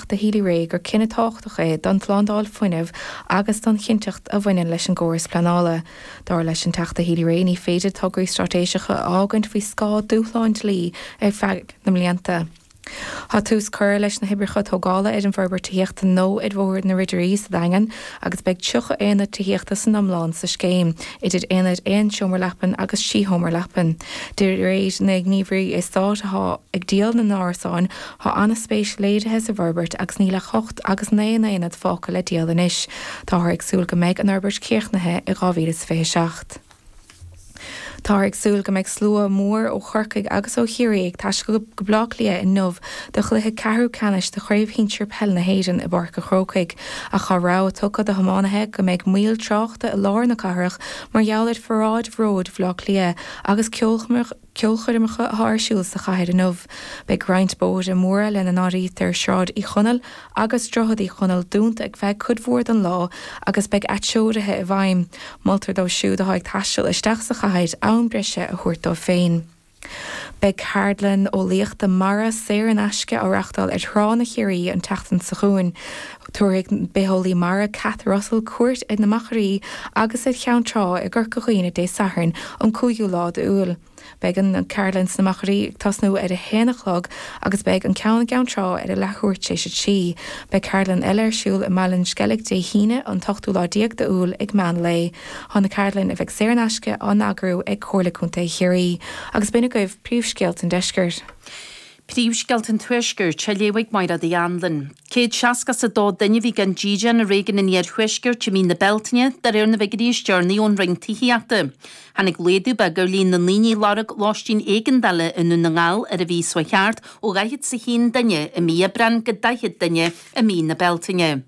Teachta Healy-Rae gur cinneadh tábhachtach é don tslándáil fuinnimh agus don chinnteacht a bhaineann leis an gcóras pleanála. Dar leis an Teachta Healy-Rae ní féidir tograí straitéiseacha a fhágaint faoi scáth dúshláin dlí ar feadh na mblianta. Tá tús curtha leis na hoibreacha tógála ar an bhforbairt tithíochta nua ar Bhóthar na Ridirí sa Daingean agus beidh 30 aonad tithíochta san iomlán sa scéim, idir aonaid aon seomra leapan agus trí sheomra leapan. De réir na ngníomhairí eastáit atá ag díol na n-árasán, tá an-spéis léirithe sa bhforbairt agus níl ach ocht agus naoi n-aonad fágtha le díol anois. Táthar ag súil go mbeidh an fhorbairt críochnaithe i 2027. Táthar ag súil go mbeidh slua mór ó Chorcaigh agus ó Chiarraí ag taisteal go Baile Átha Cliath inniu do chluiche ceathrú ceannais de Chraobh Shinsir Peile na hÉireann i bPáirc an Chrócaigh. Ach tá rabhadh tugtha do thiománaithe go mbeidh moill tráchta i lár na cathrach mar gheall ar pharáid bhróid Bhaile Átha Cliath agus ceolchoirmeacha atá ar siúl sa chathair inniu. Beidh roinnt bóithre móra, lena n-áirítear Sráid Uí Chonaill agus Droichead Uí Chonaill, dúnta ar feadh cuid mhór den lá agus beidh atreoruithe i bhfeidhm. Moltar dóibh siúd atá ag taisteal isteach sa chathair am breise a thabhairt dóibh féin. Beidh ceardlann eolaíochta mara saor in aisce á reáchtáil ar Thránna Chiarraí an tseachtain seo chugainn. Tabharfaidh an bitheolaí mara Cath Russell cuairt ar na Machairí agus ar Cheann Trá i gCorca Dhuibhne Dé Sathairn an 5ú lá d'Iúil. Beidh an ceardlann sna Machairí ag tosnú ar a haon a chlog agus beidh an ceann i gCeann Trá ar a leathuair tar éis a 3. Beidh ceardlann eile ar siúl i mBaile an Sceilg Dé hAoine an t-ochtú lá déag d'Iúil ag meán lae. Tá na ceardlainn, a bheidh saor in aisce, á n-eagrú ag Comhairle Contae Chiarraí. Agus b'in agaibh príomhscéalta an deiscirt. Príomhscéalta an Tuaiscirt á léamh ag Máire Uí Anluain. 162 duine a bhí gan dídean i réigiún an Iarthuaiscirt i mí na Bealtaine, de réir na bhfigiúirí is deireanaí ón Roinn Tithíochta. Tháinig laghdú beag ar líon na ndaoine a lorg lóistín éigeandála i nDún na nGall ar an mhí seo thart, ó 41 duine i mí Aibreáin go 40 duine i mí na Bealtaine.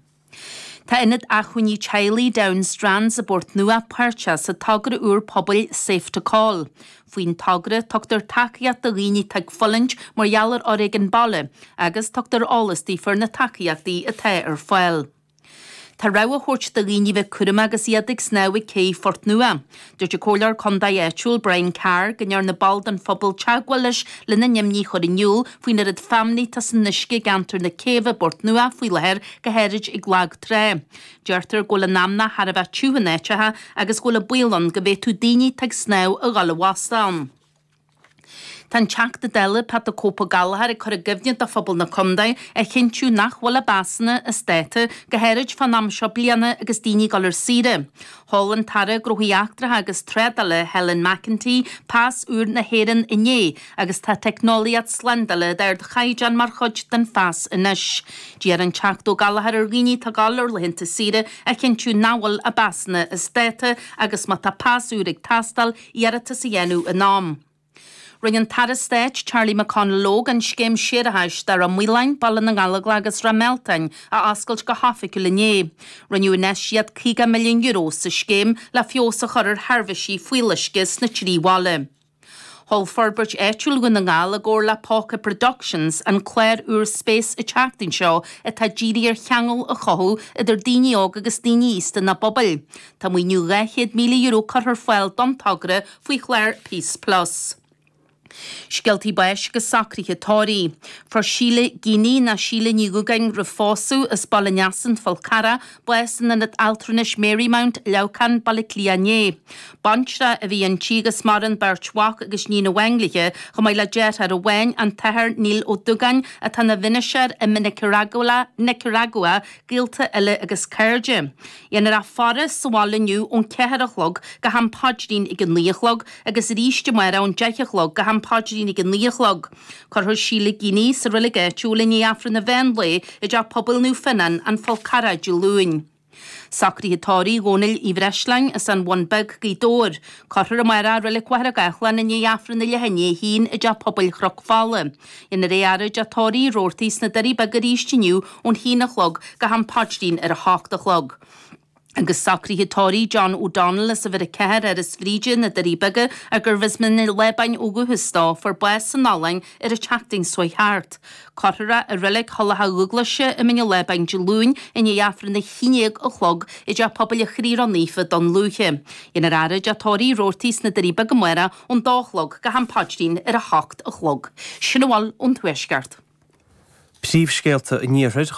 Tá Ionad Acmhainní Teaghlaigh Down Strands i bPort Nua páirteach sa togra úr pobail Safe to Call. Faoin togra, tugtar tacaíocht do dhaoine atá ag fulaingt mar gheall ar fhoréigean baile agus tugtar eolas daofa ar na tacaíochtaí atá ar fáil. Tá rabhadh á thabhairt do dhaoine bheith cúramach agus iad ag snámh ag cé Phort Nua. Dúirt an Comhairleoir Contae áitiúil Brian Carr go ndearna ball den phobal teagmháil leis lena n-imní a chur in iúl faoin oiread feamnaí atá san uisce i gceantar na céibhe i bPort Nua faoi láthair, go háirid ag lag trá. Deirtear go bhfuil an fheamnach thar a bheith tiubh in áiteacha agus go bhfuil an baol ann go bhféadfadh daoine atá ag snámh a dhul i bhfostú ann. Tá an Teachta Dála Pat the Cope Ó Gallchóir ag cur i gcuimhne do phobal na contae a chinntiú nach bhfuil a bpasanna as dáta, go háirid fán am seo bliana agus daoine ag dul ar saoire. Sheol an tAire Gnóthaí Eachtracha agus Trádála Helen McEntee pas úr na hÉireann inné agus tá teicneolaíocht slándála d'ardchaighdeán mar chuid den phas anois. D'iarr an Teachta Ó Gallchóir ar dhaoine atá ag dul ar laethanta saoire a chinntiú nach bhfuil a bpasanna as dáta agus má tá pas úr ag teastáil, iarratas a dhéanamh in am. Rinne an tAire Stáit Charlie McConalogue an scéim séarachais do Ráth Maoláin, Baile na nGallóglach agus Ráth Mealtain a oscailt go hoifigiúil inné. Rinneadh infheistíocht €50 milliún sa scéim le feabhas a chur ar sheirbhísí fuíolluisce sna trí bhaile. Sheol Forbairt Áitiúil Dhún na nGall i gcomhar le Póca Productions an clár úr Space an tseachtain seo atá dírithe ar cheangal a chothú idir daoine óga agus daoine aosta ina bpobail. Tá maoiniú €200,000 curtha ar fáil don togra faoi chlár Peace Plus. Scéaltaí báis agus socruithe tórraimh. Fuair Síle Geaney, nó Síle Ní Dhúgáin roimh phósadh, as Baile an Easa, An Fál Carrach, bás in Ionad Altranais Marymount, Leamhcán, Baile Átha Cliath inné. Baintreach a bhí inti agus maireann beirt mhac agus iníon amháin léi, chomh maith le deartháir amháin, an tAthair Neil Ó Dúgáin, atá ina mhiniséir i Nicearagua, Nicaragua, gaolta eile agus cairde. Dhéanfar a faire sa bhaile inniu ón 4 a chlog go ham paidrín ag a 9 a chlog agus arís amárach ón 10 a chlog go ham paidrín ag a 9 a chlog. Cuirfear Síle Geaney sa reilig áitiúil i ndiaidh Aifreann an mheán lae i dTeach Pobail Naomh Fionnán, An Fál Carrach Dé Luain. Socruithe tórraimh Dhónaill Uí Bhreisleáin as an Bhun Beag, Gaoth Dobhair. Cuirfear amárach i Reilig Mhachaire Gathlán i ndiaidh Aifreann a leath i ndiaidh a haon i dTeach Pobail Chnoc Fola. Dhéanfar é a fhaire i dteach tórraimh Uí Robhartaigh sna Doirí Beaga arís inniu ón haon a chlog go ham paidrín ar a hocht a chlog. Agus socruithe tórraimh John O'Donnell as uimhir 4, Áras Bhríde, na Doirí Beaga, ar gurbh as Mín an Lábáin ó dhúchas dó, fuair bás san Ollainn ar an tseachtain seo thart. Cuirfear é i Reilig Thulach Dhúglaise i Mín an Lábáin Dé Luain i ndiaidh Aifreann a haon déag a chlog i dTeach Pobail an Chroí Ró-Naofa, Dún Lúiche. Dhéanfar a fhaire i dteach tórraimh Uí Robhartaigh sna Doirí Beaga amárach ón dó a chlog go ham paidrín ar a hocht a chlog. Sin a bhfuil ón Tuaisceart. Príomhscéalta an Iarthair.